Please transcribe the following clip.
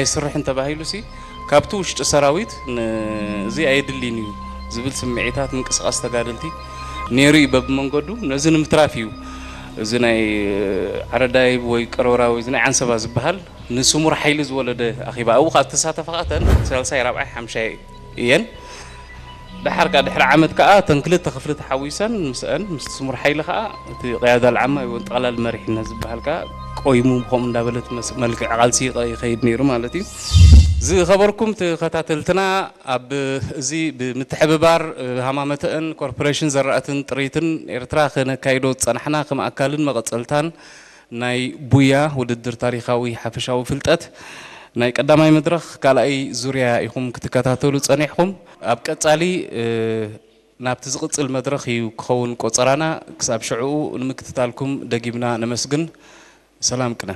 ኣይስርሕን ተባሂሉ ሲ ካብቲ ውሽጢ ሰራዊት እዚ ኣየድልይን እዩ ዝብል ስምዒታት ምንቅስቃስ ተጋደልቲ ነይሩ እዩ። በብመንገዱ ነዚ ንምትራፍ እዩ እዚ ናይ ዓረዳይ ወይ ቀሮራ ወይ እዚ ናይ ዓንሰባ ዝበሃል ንስሙር ሓይሊ ዝወለደ ኣኺባ ኣብኡ ካብ ተሳተፋ ተን ሳልሳይ ራብዓይ ሓምሻይ እየን። ደሓር ከዓ ድሕሪ ዓመት ከዓ እተን ክልተ ክፍሊ ተሓዊሰን ምስአን ምስ ስሙር ሓይሊ ከዓ እቲ ቅያዳ ልዓማ ወይ ጠቕላል መሪሕነት ዝበሃል ከዓ ቆይሙ ብከምኡ እንዳበለት መስ- መልክዕ ቃልሲ ይኸይድ ነይሩ ማለት እዩ። ዝኸበርኩም ተኸታተልትና ኣብ እዚ ብምትሕብባር ሃማመተእን ኮርፖሬሽን ዘራእትን ጥሪትን ኤርትራ ክነካይዶ ዝፀናሕና ከም ኣካልን መቐፀልታን ናይ ቡያ ውድድር ታሪኻዊ ሓፈሻዊ ፍልጠት ናይ ቀዳማይ መድረኽ ካልኣይ ዙርያ ኢኹም ክትከታተሉ ጸኒሕኹም። ኣብ ቀጻሊ ናብቲ ዝቕጽል መድረኽ እዩ ክኸውን ቆጸራና። ክሳብ ሽዕኡ ንምክትታልኩም ደጊምና ነመስግን። ሰላም ቅነ።